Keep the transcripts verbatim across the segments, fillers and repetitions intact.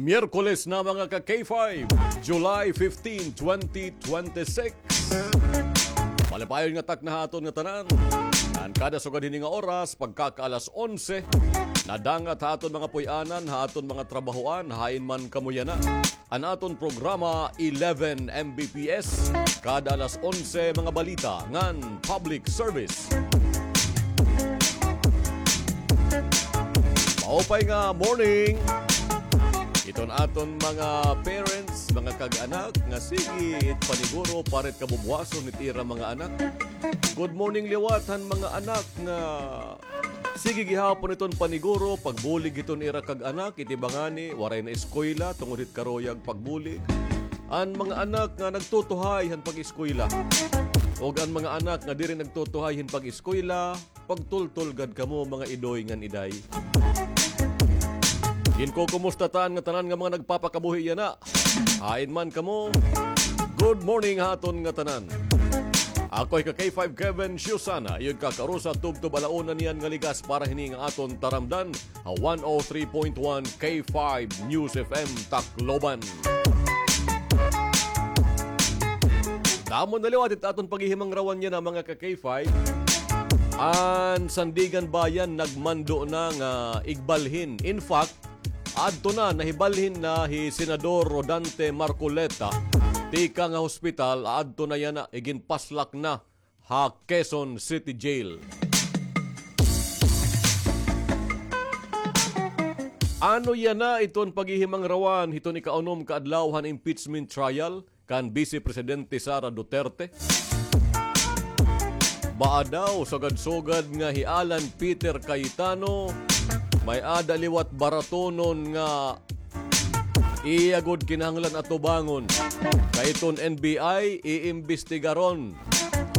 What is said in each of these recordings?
Miyerkules na, mga ka K five, July fifteen, twenty twenty-six. Malipayon nga takna ha aton ngatanan. An kada sugad hini nga oras, pagkakaalas onse, nadangat ha aton mga puy-anan, ha aton mga trabahoan, hain man kamo yana. An aton programa, eleven M B P S, kada alas onse, mga balita ngan public service. Maupay nga morning hiton aton mga parents, mga kag-anak nga sige it paniguro para it kabubuwason hit ira mga anak. Good morning liwat han mga anak nga sige gihapon iton paniguro, pagbulig hiton ira kag-anak, iti bangani waray na eskwela tungod hit karuyag pagbulig. An mga anak nga nagtutuhay han pag-eskwela, ug an mga anak nga diri nagtutuhay hin pag-eskwela, pagtultol gad kamo, mga idoy ngan iday. Ginkukumusta ta an ngatanan nga mga nagpapakabuhi yana. Hain man kamo, good morning ha aton ngatanan. Ako hi ka K five Kevin Siusana, iyo it kakarusa tubtob ala una niyan nga ligas para hini nga aton taramdan ha one oh three point one K five News F M Tacloban. Damo na liwat it aton paghihimangrawan yana, mga ka K five. An Sandiganbayan nagmando na nga igbalhin. In fact, adto na, nahibalhin na hi Senador Rodante Marcoleta tikang ha hospital, adto na yana, iginpaslak na ha Quezon City Jail. Ano yana iton paghihimangrawan hiton ikaunom ka adlaw han impeachment trial kan Vice Presidente Sara Duterte? Baa daw sugad-sugad nga hi Alan Peter Cayetano may-ada liwat baratonon nga iya gud kinahanglan atubangon. Kay iton N B I iimbestigaron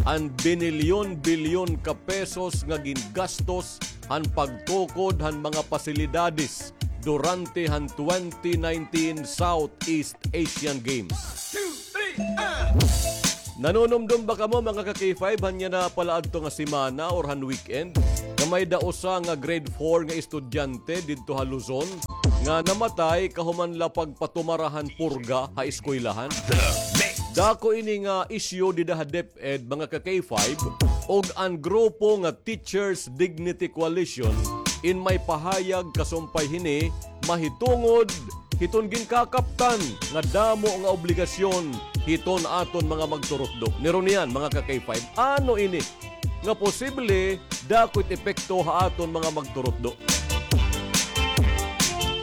an binilyon-bilyon ka pesos nga gingastos han pagtukod han mga pasilidades durante han twenty nineteen Southeast Asian Games. Nanunumdom ba kamo, mga ka K five, han yana palaadto nga semana or han weekend nga may-ada usa nga grade four nga estudyante didto ha Luzon nga namatay kahuman la pagpatumara han purga ha eskwelahan? Dako ini nga isyu dida ha DepEd, mga ka K five, ug an grupo nga Teachers Dignity Coalition in may pahayag kasumpay hini mahitungod hiton ginkakaptan nga damo nga obligasyon hiton aton mga magturutdo. Nirunian, mga ka K five, ano ini nga posible dako it epekto ha aton mga magturutdo?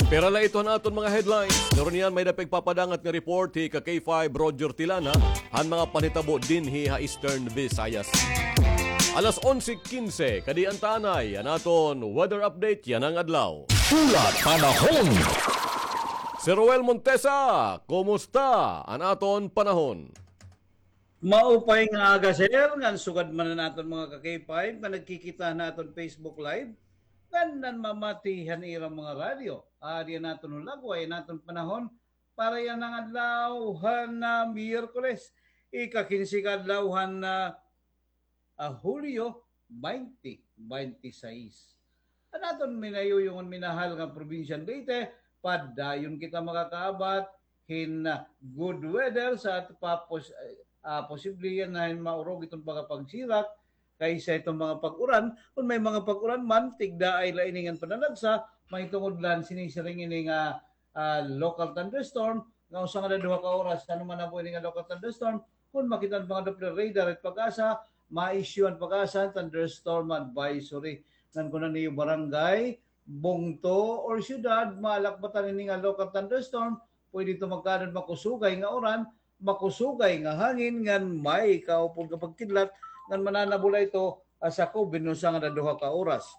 Pero la ito an aton mga headlines. Nirunian, may-ada pa igpapadangat nga report hi ka K five Roger Tilana han mga panhitabo dinhi ha Eastern Visayas. Alas onse quince, kadi an tanay an aton weather update yana nga adlaw. Pula panahon. Sir Roel Montesa, kumusta an aton panahon? Maupay nga aga, sir, ngan sugad man an aton mga ka K five nga nagkikita han aton Facebook Live, ngan nanmamati han ira mga radyo. Adi an aton hulagway, an aton panahon, para yana nga adlaw han, ah, Miyerkules, ika-kinse ka adlaw han, ah, ah, Hulyo, baynte baynte sais. An aton minayuyong ngan minahal nga probinsyang Leyte, padayon kita makakaabat hin, ah, good weather sa ato pa pos-, ah, posible yana hin maurog iton mga pagsirak kaysa iton mga pag-uran. Kon may mga pag-uran man, tigdaay la ini ngan pananagsa, mahitungod la han sinisiring ini nga, ah, local thunderstorm, nga usa nga duha ka oras, ano man amo ini nga local thunderstorm, kon makita han mga Doppler radar it PAGASA, ma-issue an PAGASA thunderstorm advisory. Ngan kon an iyo barangay, bungto, or syudad, malakbatan ini nga local thunderstorm, pwede ito magkaada hin makusugay nga uran, makusugay nga hangin, ngan may kaupod nga pagkidlat, ngan mananabo la ito, ah, sakob hin usa nga duha ka oras.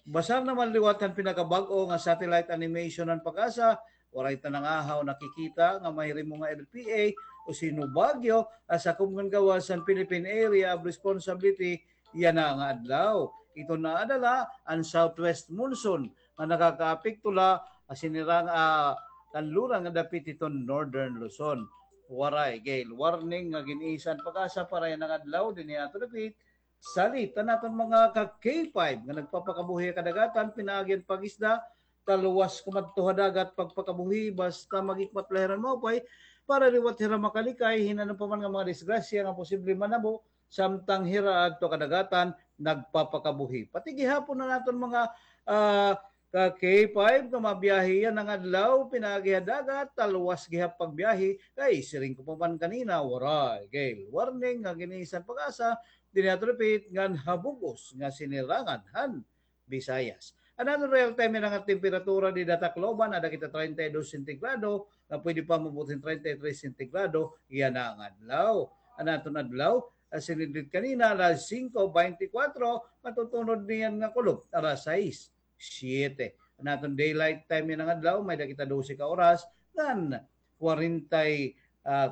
Basar naman liwat han pinakabag-o nga satellite animation han PAGASA, waray ta nangahaw nakikita nga mahirimo nga L P A o Sino Baguio, ah, sakob ngan gawas han Philippine Area of Responsibility yana nga adlaw. Ito naadala an southwest monsoon nga nakakaapekto la, ah, sinirang, ah, kanluran nga dapit hiton Northern Luzon. Waray gale warning nga gin-isa han PAGASA para yana nga adlaw dinhi ha aton dapit. Salit an aton mga ka K five nga nagpapakabuhi ha kadagatan, pinaagi han pag-isda, talwas kumadto ha dagat pagpakabuhi, basta magikmat la hira hin maupay, para liwat hira makalikay hin ano pa man nga mga disgrasya nga posible manabo, samtang hira adto kadagatan nagpapakabuhi. Pati gihapon an aton mga, ah, ka K five nga mabiyahe yana nga adlaw, pinaagi ha dagat, talwas gihap pagbiyahe, kay siring ko pa man kanina, waray gale warning nga giniisan PAGASA, dinhi aton repeat, ngan ha bug-os nga sinirangan han Visayas. An aton real time yana nga temperatura dida ha Tacloban, ada kita treinta y dos sentigrado, nga pwede pa maabot hin treinta y tres sentigrado yana nga adlaw. An aton adlaw, ah, sinidlit kanina, alas singko beintikwatro, matutunod niyan nga kulob, alas sais, siyete. An aton daylight time yana nga adlaw, may-ada kita dose ka oras, ngan kwarenta y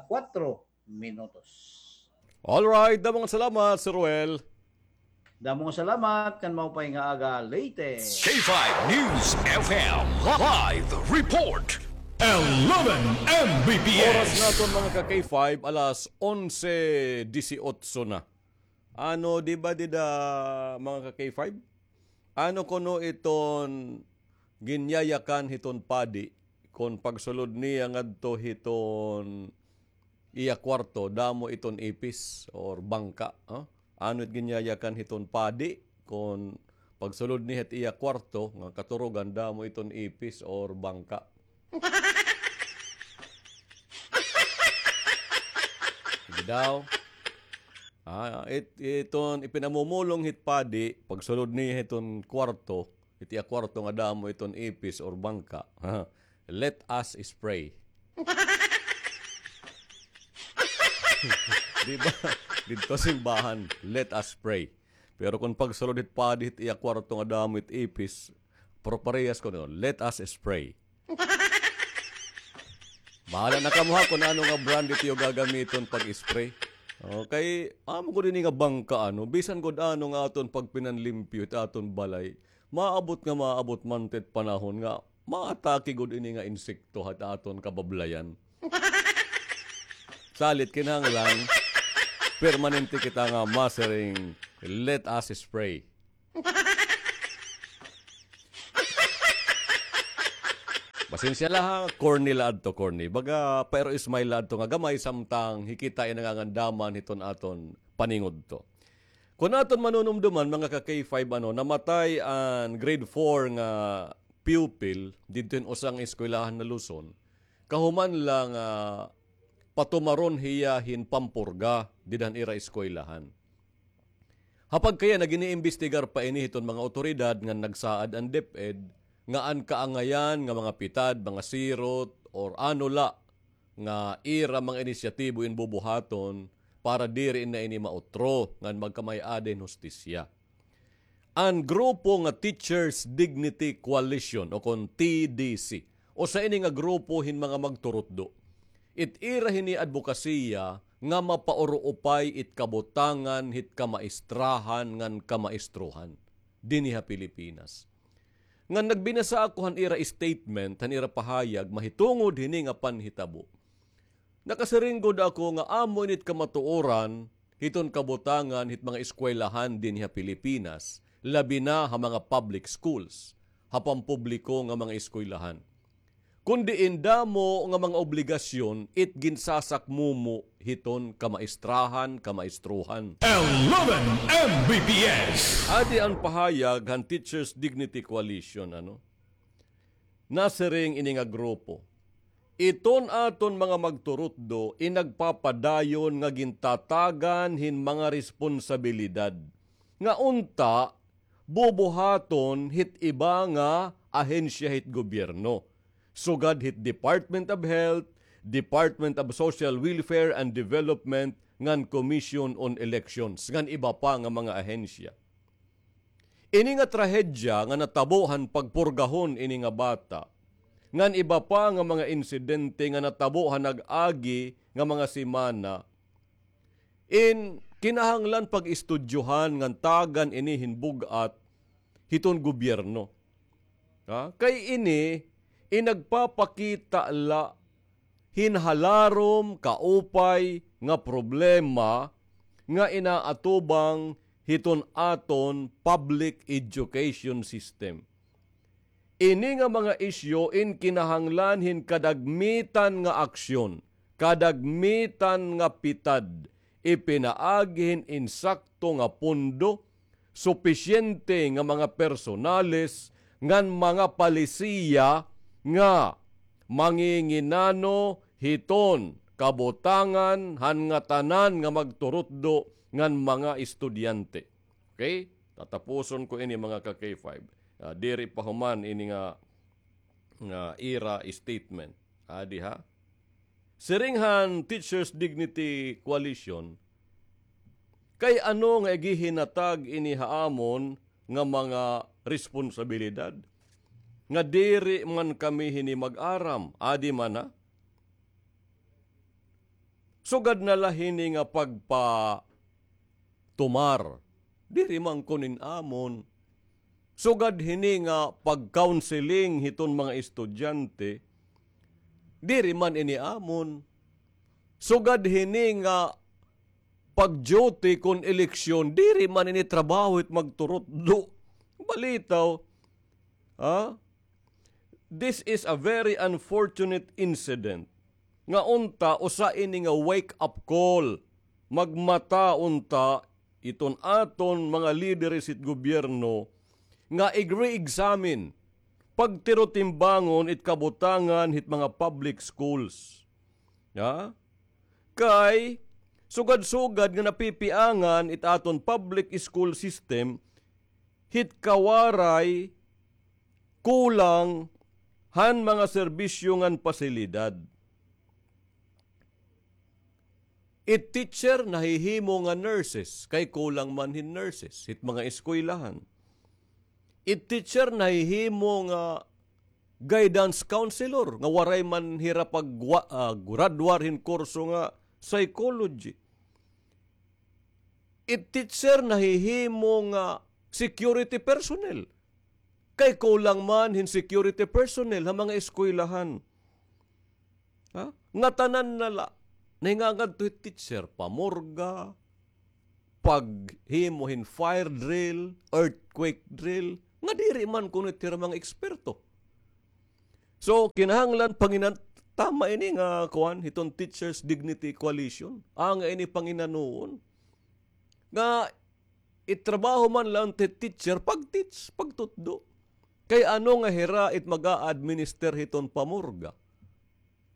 kwatro minutos. Alright, damo nga salamat, Sir Ruel. Damo nga salamat, ngan maupay nga aga, Leyte. K five News F M live report. Eleven M B P S. Oras naton, mga ka K five, alas onse disiotso na. Ano, di ba, dida, mga ka K five? Ano kuno iton ginyayakan hiton padi kon pagsulod niya ngadto hiton iya kwarto, damo iton ipis or bangka, ha? Ano it ginyayakan hiton padi kon pagsulod niya hit iya kwarto nga katurugan, damo iton ipis or bangka? Sige daw. Ah, it-, iton ipinamumulong hit padi, pagsulod niya hiton kwarto, hit iya kwarto nga damo iton ipis or bangka. Let us spray. Di ba? Didto simbahan, let us pray. Pero kon pagsulod hit padi hit iya kwarto nga damo it ipis, proparehas kuno, let us spray. Bahala na kamo ha kon ano nga brand it iyo gagamiton pag-spray. Okay, amo gud ini nga bangka, ano, bisan gud ano nga aton pagpinanlimpyo it aton balay, maabot nga maabot man it panahon nga maatake gud ini nga insekto ha aton kabablayan. Salit kinahanglan, permanente kita nga masiring, let us spray. Pasensya la ha, corny la adto, corny. Baga, pero smile la adto nga gamay samtang hikita in nangangandaman hiton aton paningudto. Kon aton manunumduman, mga ka K five, ano, namatay an grade four nga pupil didto hin usa nga eskwelahan ha Luzon. Kahuman la nga patumaron hiya hin pampurga dida han ira eskwelahan. Ha pagkayana, giniimbestigar pa ini hiton mga awtoridad ngan nagsaad an DepEd nga an kaangayan nga mga pitad, mga sirot, or ano la nga ira mga inisyatibo in bubuhaton para diri na ini mautro ngan magkamay-ada hin hustisya. An grupo nga Teachers Dignity Coalition o kon T D C, usa ini nga grupo hin mga magturutdo. It ira hini adbokasiya nga mapauruupay it kabutangan hit kamaistrahan ngan kamaistrohan dinhi ha Pilipinas. Ngan nagbinasa ako han ira statement, han ira pahayag mahitungod hini nga panhitabo. Nakasiring gud ako nga amo ini it kamatuoran hiton kabutangan hit mga eskwelahan dinhi ha Pilipinas, labi na ha mga public schools, ha pampubliko nga mga eskwelahan. Kon diin damo nga mga obligasyon it ginsasakmumo hiton kamaistrahan, kamaistrohan. Eleven M B P S. Adi an pahayag han Teachers Dignity Coalition, ano? Nasiring ini nga grupo, iton aton mga magturutdo in nagpapadayon nga gintatagan hin mga responsabilidad nga unta bubuhaton hit iba nga ahensya hit gobyerno, sugad hit Department of Health, Department of Social Welfare and Development, ngan Commission on Elections, ngan iba pa nga mga ahensya. Ini nga trahedya nga natabo han pagpurgahon ini nga bata, ngan iba pa nga mga insidente nga natabo han nag-agi nga mga semana, in kinahanglan pag-estudyohan ngan tagan ini hin bug-at hiton gobyerno. Ha? Kay ini in nagpapakita la hin halarom kaupay nga problema nga inaatubang hiton aton public education system. Ini nga mga isyu in kinahanglan hin kadagmitan nga aksyon, kadagmitan nga pitad, ipinaagi hin insakto nga pondo, supisyente nga mga personales, ngan mga palisiya nga manginginano hiton kabutangan han ngatanan nga magturutdo ngan mga estudyante. Okay? Tatapuson ko ini, mga ka-K five. Ah, diri pa human ini nga, nga ira statement. Adi ha? Siring han Teachers Dignity Coalition, kay ano nga igihinatag ini ha amon nga mga responsabilidad? Nga diri man kami hini mag-aram, adi man ha? Sugad na la hini nga pagpatumar, diri man kuno in amon. Sugad hini nga pag-counseling hiton mga estudyante, diri man ini amon. Sugad hini nga pag-duty kon eleksyon, diri man ini trabaho hit magturutdo. Balitaw, ha? This is a very unfortunate incident. Nga unta, usa ini nga wake-up call. Magmata unta iton aton mga lideres hit gobyerno nga ig-re-examine, pagtirotimbangon it kabutangan hit mga public schools. Ha? Kay sugad-sugad nga napipiangan it aton public school system hit kawaray kulang han mga serbisyo ngan pasilidad. It teacher nahihimo nga nurses, kay kulang man hin nurses hit mga eskwelahan. It teacher nahihimo nga guidance counselor, nga waray man hira pag-, ah, graduar hin kurso nga psychology. It teacher nahihimo nga security personnel. Kay kulang man hin security personnel ha mga eskwelahan. Ha? Ngatanan na la. Nahingangadto hit teacher, pamurga, paghimo hin fire drill, earthquake drill, nga diri man kuno hira mga eksperto. So, kinahanglan panginan-, tama ini nga, kuan, hiton Teachers Dignity Coalition. Anga ini panginanuon. Nga itrabaho man la hit teacher, pag-teach, pagtutdo. Kay ano nga hira it mag-a-administer hiton pamurga?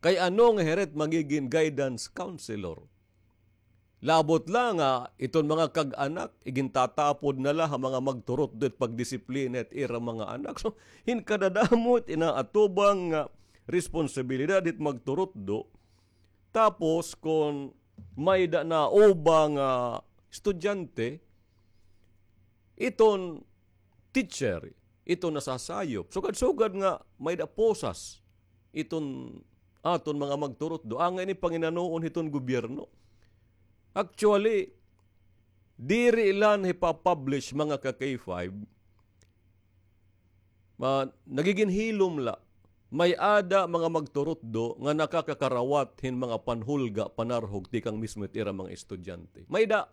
Kay ano nga hira it magigin guidance counselor? Labot la nga iton mga kag-anak, igintatapod na la ha mga magturutdo it pagdisiplina it ira mga anak. So, hin kadadamo it inaatubang nga responsibilidad it magturutdo. Tapos, kon may-ada na uba nga estudyante, iton teacher, iton nasasayop. Sugad-sugad nga may-ada posas iton aton mga magturutdo. Anga ini panginanuon hiton gobyerno. Actually, diri la hipapublish, mga ka-K five, Ma-, nagigin hilom la. May-ada mga magturutdo nga nakakakarawat hin mga panhulga, panarhog tikang mismo it ira mga estudyante. May-ada.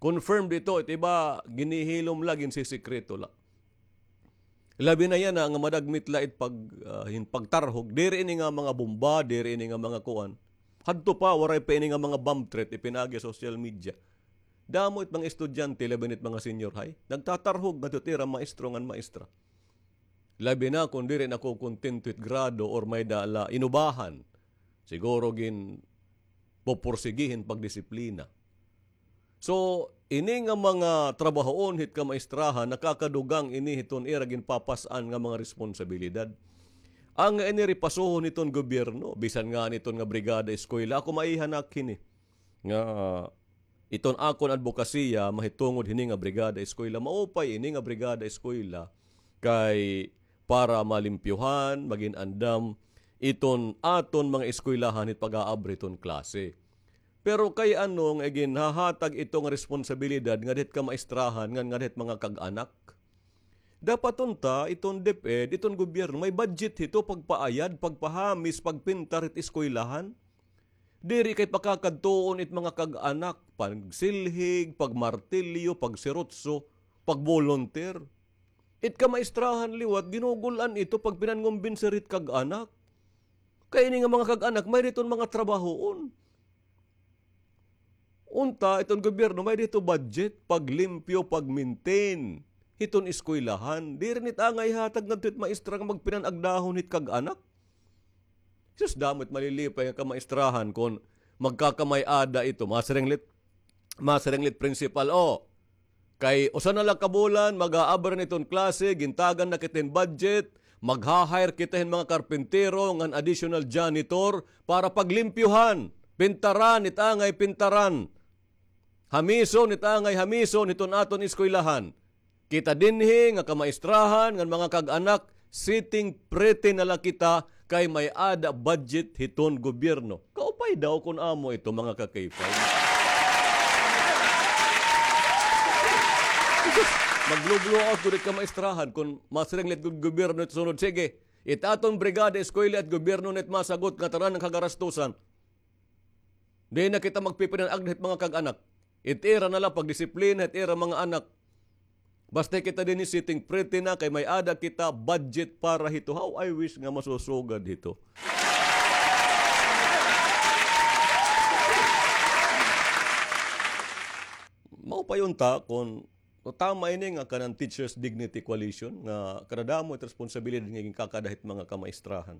Confirmed ito. It iba, ginhihilom la, ginsisikreto la. Labi na yana nga madagmit la it pag-, ah, hin pagtarhog. Diri ini nga mga bomba, diri ini nga mga kuan. Hadto pa, waray pa ini nga mga bomb threat, ipinaagi ha social media. Damo it mga estudyante, labi na it mga senior high, nagtatarhog ngadto it ira maestro ngan maestra. Labi na kon diri nakokontento it grado or may-ada la inubahan. Siguro ginpoporsigi hin pagdisiplina. So, ini nga mga trabahoon hit kamaestrahan, nakakadugang ini hiton ira ginpapas-an nga mga responsibilidad. Anga ini ripasuhon hiton gobyerno, bisan ngani iton nga brigada eskwela. Ako maiha na ak hini nga iton akon adbokasiya mahitungod hini nga brigada eskwela. Maupay ini nga brigada eskwela kay para malimpyuhan, magin andam iton aton mga eskwelahan hit pag-aabri hiton klase. Pero kay ano nga iginhahatag ito nga responsibilidad ngada hit kamaestrahan ngan ngada hit mga kag-anak? Dapat unta iton DepEd, iton gobyerno, may budget hito pagpaayad, pagpahamis, pagpintar hit eskwelahan. Diri kay pakakadtuon it mga kag-anak, pagsilhig, pagmartilyo, pagsirutso, pagbolunteer. It kamaistrahan liwat, ginugul-an ito pagpinangumbinser hit kag-anak. Kay ini nga mga kag-anak, may-ada iton mga trabahoon. Unta, iton gobyerno, may-ada ito budget, paglimpyo, pag-maintain hiton eskwelahan. Diri na it angay ihatag ngadto hit maestra nga magpinanagdahon hit kag-anak. Sus, damo it malilipay nga kamaistrahan kon magkakamay-ada ito. Masiring la it, masiring la it principal, o, kay usa na la ka bulan, mag-aabri na iton klase, gintagan na kita hin budget, magha-hire kita hin mga karpintero ngan additional janitor para paglimpyohan, pintaran, it angay pintaran, hamison, it angay hamison hiton aton eskwelahan. Kita dinhi nga kamaistrahan ngan mga kag-anak, sitting pretty na la kita kay may-ada budget hiton gobyerno. Kaupay daw kon amo ito, mga ka-K five. Maglublo ako diri kamaistrahan kon masiring la it gud gobyerno it sunod. Sige, it aton brigada eskwela it gobyerno na it masagot nga tanan nga kagarastusan. Di na kita magpipinanagda hit mga kag-anak. It ira na la pagdisiplina hit ira mga anak. Basta kita dinhi sitting pretty na kay may-ada kita budget para hito. How I wish nga masusugad hito. Mao pa unta kon tama ini nga kanan Teachers Dignity Coalition nga kadadamo it responsibilidad nga ginkakada hit mga kamaistrahan.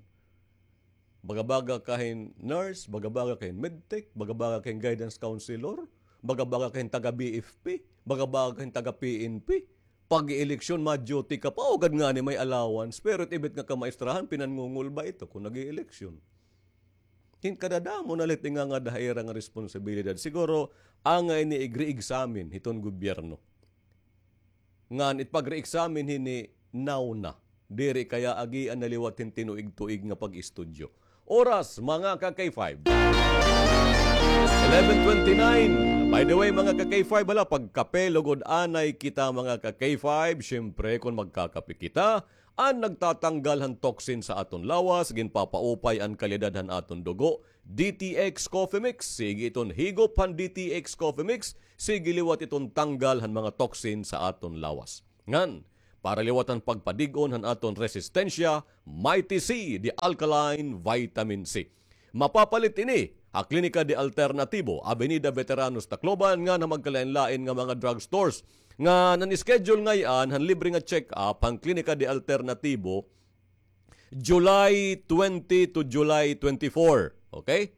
Baga-baga ka hin nurse, baga-baga ka hin medtech, baga-baga ka hin guidance counselor, baga-baga ka hin taga-B F P, baga-baga ka hin taga-P N P. Pag-eleksyon, ma-duty ka pa, o gad ngani may allowance. Pero it ibit nga kamaistrahan, pinanngungulba ito kon nag-eleksyon. Hin kadadamo na la it ingangada ha ira nga responsibilidad. Siguro, angay ini igre-examine hiton gobyerno. Ngan it pagre-examine hini nawna. Diri kaya agian na liwat hin tinuig-tuig nga pag-istudyo. Oras, mga ka-K five. Eleven twenty-nine. By the way, mga ka-K five, hala, pagkape lugod anay kita, mga ka-K five. Siyempre, kon magkakape kita, an nagtatanggal han toxin sa aton lawas, ginpapaupay an kalidad han aton dugo. D T X Coffee Mix, sige iton higop han D T X Coffee Mix, sige liwat iton tanggal han mga toxin sa aton lawas. Ngan, para liwat han pagpadig-on han aton resistensya, Mighty C, the alkaline vitamin C. Mapapalit ini ha Klinika de Alternatibo, Avenida Veteranos, Tacloban, ngan ha magkalain-lain nga mga drugstores. Ngan an schedule ngay-an han libre nga check-up han Klinika de Alternativo, July twenty to July twenty-four. Okay?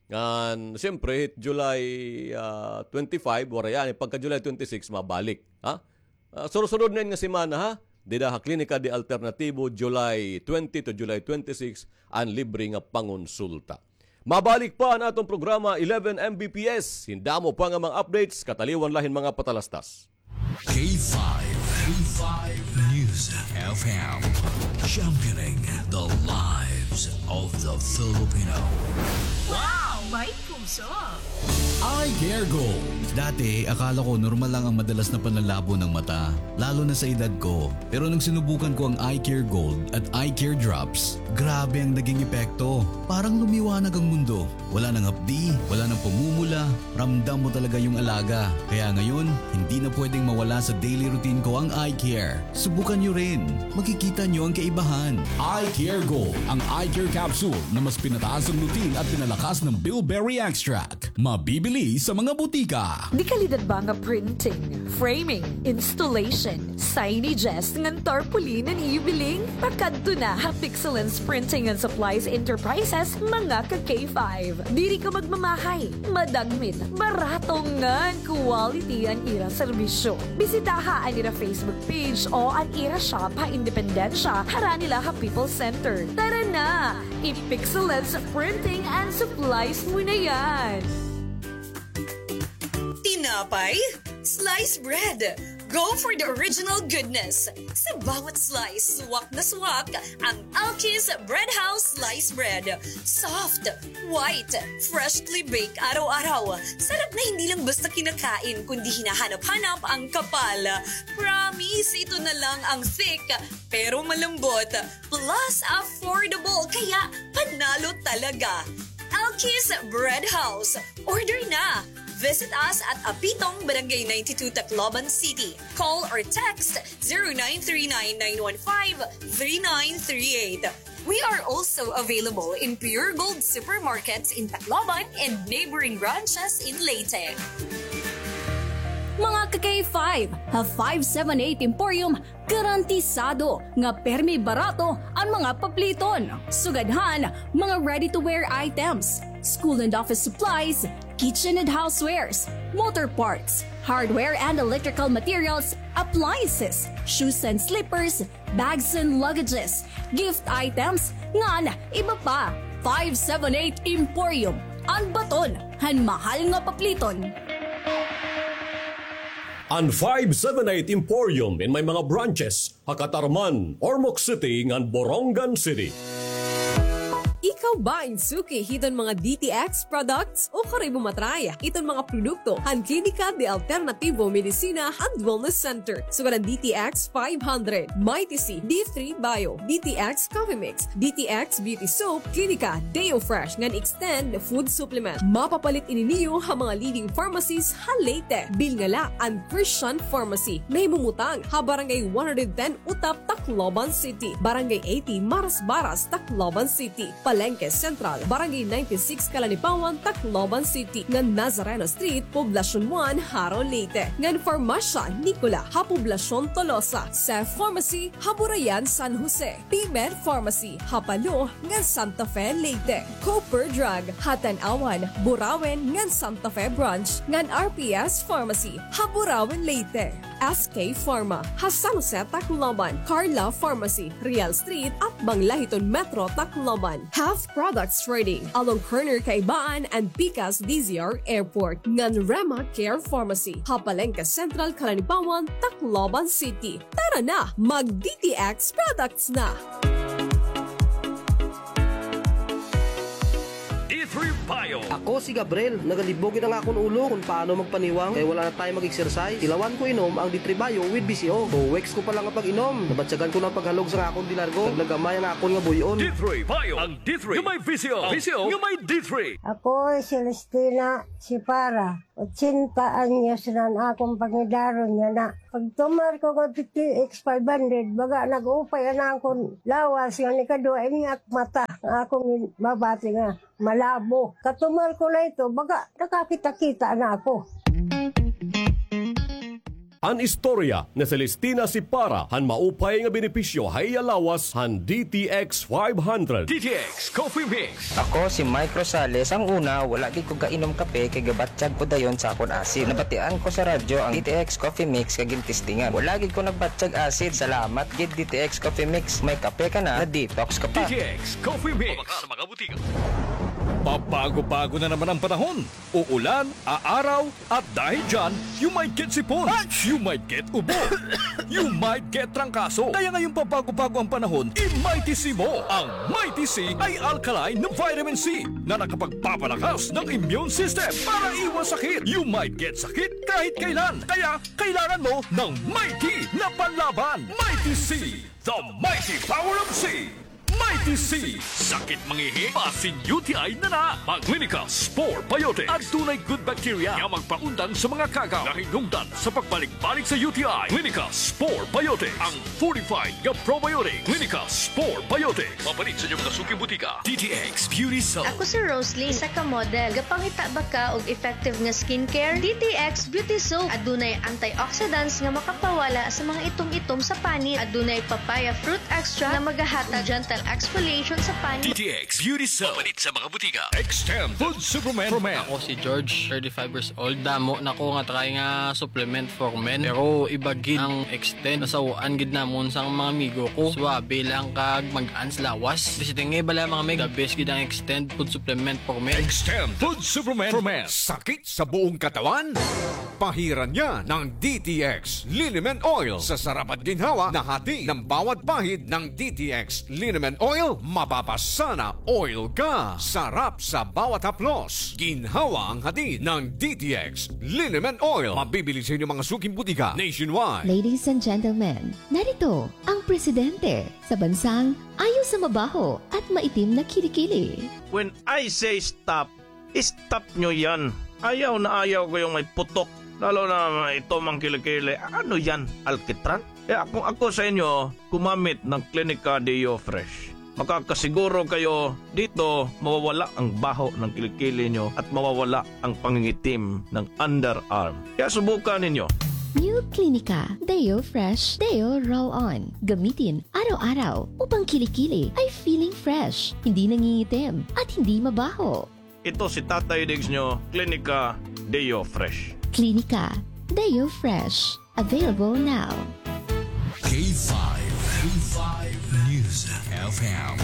Ngan, siyempre, hit July, ah, twenty-five, waray anay. Pagka July twenty-six, mabalik. Ha? Ah, sunod-sunod na ini nga semana, ha? Dida ha Klinika de Alternativo, July twenty to July twenty-six, an libre nga pangonsulta. Mabalik pa an aton programa, eleven M B P S. Hin damo pa nga mga updates, kataliwan la hin mga patalastas. K five, K five News F M, championing the lives of the Filipino. Wow! May puso! Eye Care Gold. Dati, akala ko normal lang ang madalas na panlalabo ng mata, lalo na sa edad ko. Pero nung sinubukan ko ang Eye Care Gold at Eye Care Drops, grabe ang naging epekto. Parang lumiwanag ang mundo. Wala nang hapdi, wala nang pamumula, ramdam mo talaga yung alaga. Kaya ngayon, hindi na pwedeng mawala sa daily routine ko ang eye care. Subukan nyo rin. Makikita nyo ang kaibahan. Eye Care Gold, ang eye care capsule na mas pinataas ang lutein at pinalakas ng bilberry extract. Mabibili sa mga butika. Dekalidad ba nga printing, framing, installation, signages, ngan tarpaulin an iyo biling? Pakadto na ha Pixelens Printing and Supplies Enterprises, mga ka-K five. Diri ka magmamahay, madagmit, barato ngan quality an ira serbisyo. Bisitaha an ira Facebook page o an ira shop ha Independencia, harani la ha People's Center. Tara na! I-Pixelens Printing and Supplies mo na yan! Tinapay? Slice bread! Go for the original goodness! Sa bawat slice, swak na swak ang Alki's Bread House Slice Bread. Soft, white, freshly baked araw-araw. Sarap na hindi lang basta kinakain, kundi hinahanap-hanap ang kapal. Promise, ito na lang ang thick, pero malambot. Plus, affordable, kaya panalo talaga. Alki's Bread House. Order na! Visit us at Apitong, Barangay ninety-two, Tacloban City. Call or text zero nine three nine nine one five three nine three eight. We are also available in Pure Gold supermarkets in Tacloban and neighboring branches in Leyte. Mga ka-K five, ha five seven eight Emporium, garantisado nga permi barato an mga papliton. Sugad han mga ready-to-wear items, school and office supplies, kitchen and housewares, motor parts, hardware and electrical materials, appliances, shoes and slippers, bags and luggages, gift items, ngan iba pa. Five seven eight Emporium, an baton han mahal nga papliton. An five seven eight Emporium in may mga branches ha Catarman, Ormoc City, ngan Borongan City. Ikaw ba in suki hiton mga D T X products? O karoy mo matry iton mga produkto han Klinika de Alternativo Medicina and Wellness Center. Sugad an D T X five hundred, Mighty C, D three Bio, D T X Coffee Mix, D T X Beauty Soap, Klinika Deo Fresh ngan Extend Food Supplement. Mapapalit ini niyo ha mga leading pharmacies ha Leyte. Bilngala an Christian Pharmacy. Nahimumutang ha Barangay one hundred ten Utap, Tacloban City, Barangay eighty Marasbaras, Tacloban City, Palengke Central, Barangay ninety-six Calanipawan, Tacloban City, ngan Nazareno Street, Poblacion one, Jaro, Leyte, ngan Farmasya Nicola ha Poblacion Tolosa, Seth Pharmacy ha Burayan, San Jose, Pimer Pharmacy ha Palo ngan Santa Fe, Leyte, Cooper Drug ha Tanauan, Burauen ngan Santa Fe Branch, ngan R P S Pharmacy ha Burauen, Leyte. S K Pharma ha San Jose, Tacloban, Carla Pharmacy, Real Street, atbang la hiton Metro Tacloban, Health Products Trading, along corner Kaibaan and Pikas D Z R Airport, ngan Rema Care Pharmacy ha Palengke Central, Calanipawan, Tacloban City. Tara na, mag D T X products na! D three Bio. Ako si Gabriel. Nagalibog gid an akon ulo kon paano magpaniwang kay wala na time mag-exercise. Tilawan ko inom ang D three Bio with B C O. Two weeks ko pa la nga pag-inom, nabatyagan ko na an paghalog sa akon bilargo. Naglagamay an akon nga buy-on. D three Bio. Ang D three nga may B C O. Ang B C O nga may D three. Ako si Celestina Sipara. Ochenta anyos na an akon pangidaron yana. Pagtumar ko nga D T X five hundred, baga nag-upay an akon lawas, ngan ikaduha ini ak mata, nga akon mabati nga malabo. Katumar ko na ito, baga nakakita-kita na ako. An istorya ni Celestina Sipara han maupay nga benepisyo ha iya lawas han D T X five hundred. D T X Coffee Mix. Ako si Mike Rosales. Ang una, wala gid ko gainom kape kay gabatyag ko dayon sa akon asid. Nabatian ko sa radyo ang D T X Coffee Mix kay gintestingan. Wala gid ko nagbatyag asid. Salamat gid D T X Coffee Mix. May kape ka na, na-detox ka pa. D T X Coffee Mix. Sa mga butika. Pabago-bago na naman ang panahon. Uulan, aaraw, at dahil dyan, you might get sipon, you might get ubo, you might get trangkaso. Kaya ngayong pabago-bago ang panahon, i-Mighty C mo. Ang Mighty C ay alkaline na vitamin C na nakapagpapalakas ng immune system para iwas sakit. You might get sakit kahit kailan. Kaya kailangan mo ng Mighty na panlaban. Mighty C, the mighty power of C. Mighty C. Sakit mangihi, basin U T I na na. Mag Clinica Spore Biotics. Adunay good bacteria nga magpaundang sa mga kagaw nga hinungdan sa pagbalik-balik sa U T I. Clinica Spore Biotics. Ang fortified nga probiotic. Clinica Spore Biotics. Mapalit sa inyong mga suking butika. D T X Beauty Soap. Ako si Roslyn, isa ka model. Gapangita ba ka og effective nga skincare? D T X Beauty Soap. Adunay antioxidants nga makapawala sa mga itom-itom sa panit. Adunay papaya fruit extract nga magahatag gentle exfoliation sa panit. D T X Beauty Soap. Mapalit sa mga butika. Extend Food Supplement for Men. Ako si George, thirty-five years old. Damo na ko nga try nga supplement for men. Pero iba gid ang Extend. Nasaw-an gid namon sang mga amigo ko. Suabe lang kag mag-an sa lawas. Basta nga bala, mga mig, the best gid ang Extend Food Supplement for Men. Extend Food Supplement for Men. Sakit sa buong katawan? Pahiran niya ng D T X Liniment Oil. Sa sarap at ginhawa na hati ng bawat pahid ng D T X Liniment Oil, mapapasa na oil ka. Sarap sa bawat haplos. Ginhawa ang hati ng D T X Liniment Oil. Mabibili sa inyong mga suking butika nationwide. Ladies and gentlemen, narito ang presidente sa bansang ayo sa mabaho at maitim na kilikili. When I say stop, stop nyo yan. Ayaw na ayaw ko yung may putok. Lalo na ito mang kilikili. Ano yan? Alkitran? Kaya kung ako sa inyo, gumamit ng Clinica Deo Fresh. Makakasiguro kayo dito mawawala ang baho ng kilikili nyo at mawawala ang pangingitim ng underarm. Kaya subukan ninyo. New Clinica Deo Fresh Deo Roll On. Gamitin araw-araw upang kilikili ay feeling fresh, hindi nangingitim, at hindi mabaho. Ito si Tatay Diggs nyo, Clinica Deo Fresh. Clinica Deo Fresh. Available now. K five, K five News F M.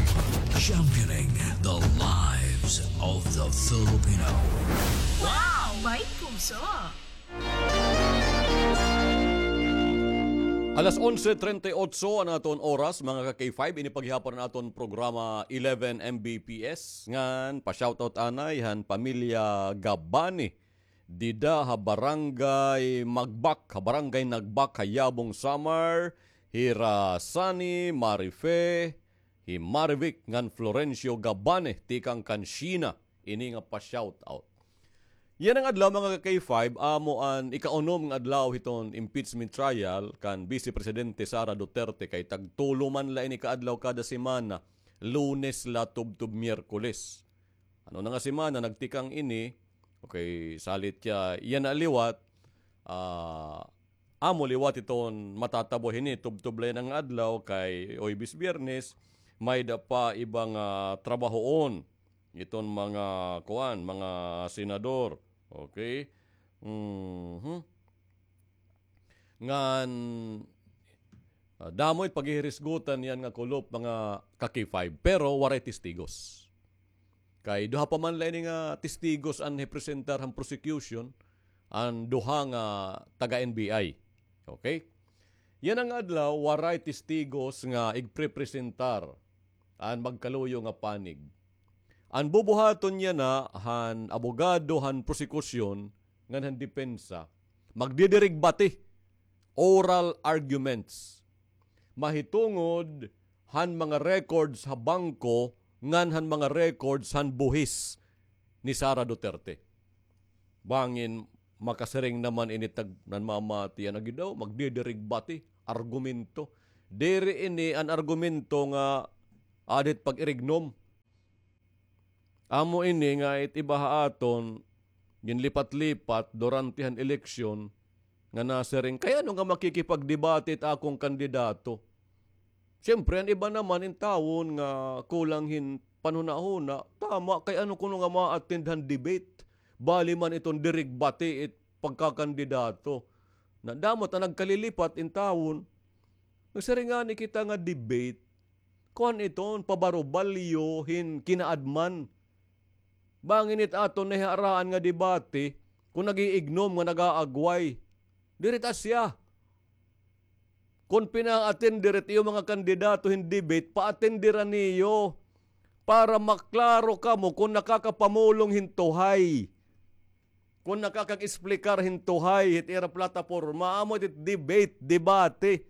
Championing the lives of the Filipino. Wow! May puso! Alas onse treinta y ocho an aton oras, mga ka-K five, ini pa gihapon an aton programa eleven M B P S. Ngan, pa-shoutout anay han pamilya Gabani. Dida ha Barangay Magbak, ha Barangay Nagbak, ha Yabong, Samar, hira Sunny, Marife, hi Marivic ngan Florencio Gabane, tikang kan Sheena, ini nga pa-shoutout. Yana nga adlaw, mga ka-K five, amo an ikaunom nga adlaw hiton impeachment trial kan Vice Presidente Sara Duterte, kay tagtulo man la ini ka adlaw kada semana, Lunes la tubtob Miyerkules. Ano na nga semana nagtikang ini, okay, salit kay yana liwat, ah, amo liwat iton matatabo hini, tubtob la yana nga adlaw kay Huwebes, Biyernes, may-ada pa iba nga trabahoon iton mga kuan, mga senador. Okay? Mhm. Ngan, ah, damo it paghihirisgutan yana nga kulop, mga ka-K five, pero waray testigos. Kay duha pa man la ini nga testigos an hipresentar han prosecution, an duha nga taga-N B I. Okay? Yana nga adlaw, waray testigos nga igprepresentar an magkaluyo nga panig. An bubuhaton yana han abogado han prosecution ngan han depensa, magdidirigbati, oral arguments, mahitungod han mga records ha bangko ngan han mga records han buhis ni Sara Duterte. Bangin makasiring naman ini tag nanmamati yana gid daw, magdidirigbati, argumento. Diri ini an argumento nga aada hit pag-irignom. Amo ini nga it iba ha aton, ginlipat-lipat durante han eleksyon nga nasiring, kay ano nga makikipagdebate it akon kandidato? Siyempre, an iba naman intawon nga kulang hin panhunahuna, tama, kay ano kuno nga ma-attend han debate? Bali man iton dirigbati it pagkakandidato. Nadamo ta nagkalilipat intawon. Nagsiring ngani kita nga debate, kuan iton, pabarubalyo hin kinaadman. Bangin it aton nahiharaan nga debate, kon nag-iignom nga nag-aagway. Diri it asya. Kon pina-attender it iyo mga kandidato hin debate, pa-attendera niyo para maklaro kamo kon nakakapamulong hin tuhay. Kon nakakag-explikar hin tuhay hit ira plataporma, amo it debate, debate.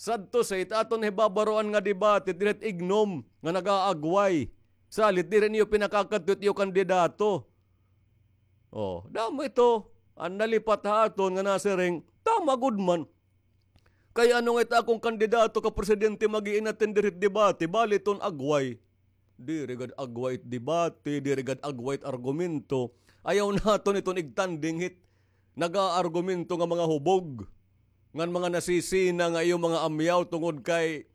Sadto sa it aton hibabaroan nga debate, diri it ignom nga nag-aagway. Salit, diri niyo pinakakadto it iyo kandidato. Oh, damo ito an nalipat ha aton nga nasiring, tama gud man. Kay ano nga it akon kandidato ka presidente mag-i-inattend diri hit debate, bali iton agway. Diri gad agway it debate, diri gad agway it argumento. Ayaw naton iton igtanding hit nag-aargumento nga mga hubog, ngan mga nasisina nga iyo mga amyaw tungod kay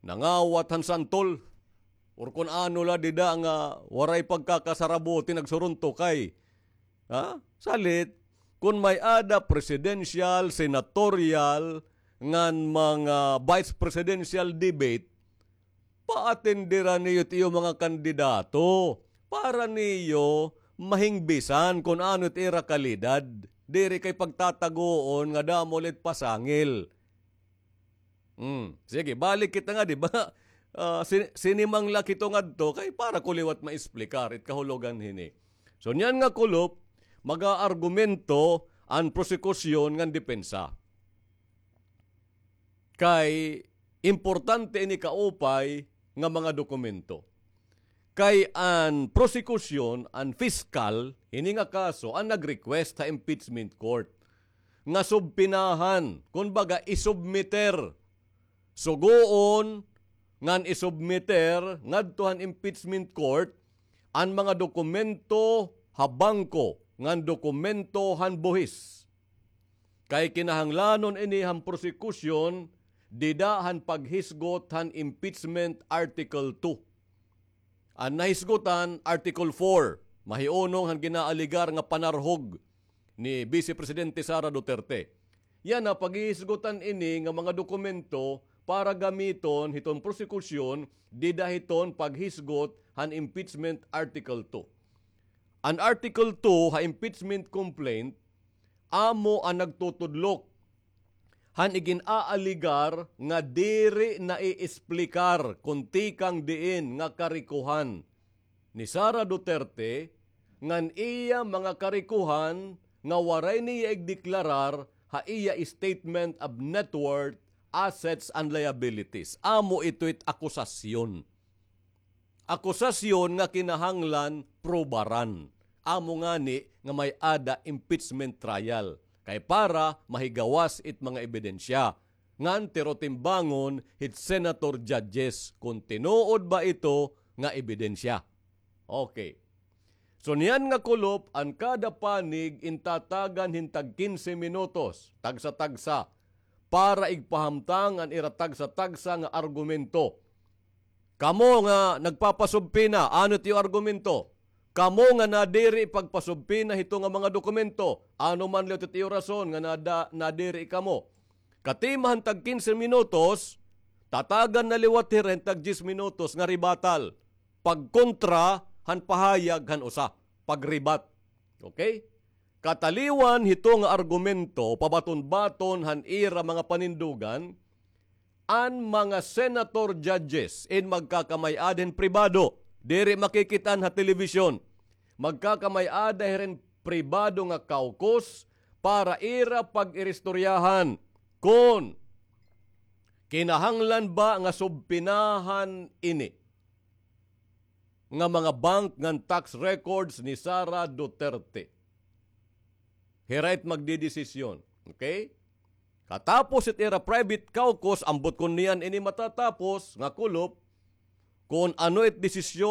nangawat han santol. Or kun ano la dida nga waray pagkakasarabuti nagsuruntok kay. Ha? Salit, kun may-ada presidential, senatorial, ngan mga vice presidential debate, pa-attendera niyo it iyo mga kandidato para niyo mahingbisan kun ano it ira kalidad. Diri kay pagtatagoon nga damo la it pasangil. Hmm. Sige, balik kita nga, di ba? Ah, sin-, sinimang la kito ngadto kay para ko liwat maexplikar it kahulogan hini. So, niyan nga kulop, mag-aargumento an prosekusyon ngan depensa. Kay importante ini kaupay nga mga dokumento. Kay an prosekusyon, an fiskal, hini nga kaso, an nag-request ha impeachment court nga subpinahan, kumbaga, isubmiter, sugoon ngan isubmiter ngadto han impeachment court an mga dokumento ha bangko ngan dokumento han buhis. Kay kinahanglanon ini han prosekusyon dida han paghisgot han impeachment Article two. An nahisgutan, Article four, mahiunong han ginaaligar nga panarhog ni Vice Presidente Sara Duterte. Yana, paghihisgutan ini nga mga dokumento para gamiton hiton prosekusyon dida hiton paghisgot han impeachment Article two. An Article two ha impeachment complaint amo an nagtutudlok han igin-aaligar nga diri naiesplikar kon tikang diin nga karikohan ni Sara Duterte ngan iya mga karikohan nga waray niya igdeklarar ha iya statement of net worth, assets, and liabilities. Amo ito it akusasyon. Akusasyon nga kinahanglan probaran. Amo ngani nga may-ada impeachment trial. Kay para mahigawas it mga ebidensya. Ngan tirotimbangon hit senator judges kon tinuod ba ito nga ebidensya. Okay. So niyan nga kulop, an kada panig intatagan hin tag kinse minutos, tagsa-tagsa, para igpahamtang an ira tagsa-tagsa nga argumento. Kamo nga nagpapasubpina, ano it iyo argumento? Kamo nga nadiri pagpasubpina hito nga mga dokumento, ano man liwat it iyo rason nga nada-, nadiri kamo? Katima han tag kinse minutos, tatagan na liwat hira hin tag diyes minutos nga rebuttal, pagkontra han pahayag han usa, pag-rebut. Okay? Kataliwan hito nga argumento, pabaton-baton han ira mga panindugan, an mga senator judges in magkakamay-ada hin pribado, diri makikit-an ha telebisyon. Magkakamay-ada hira hin pribado nga caucus para ira pag-iristoryahan kon kinahanglan ba nga subpinahan ini nga mga bank ngan tax records ni Sara Duterte. Hira it magdedesisyon. Okay? Katapos it ira private caucus, ambot kon niyan ini matatapos nga kulop, kon ano it desisyon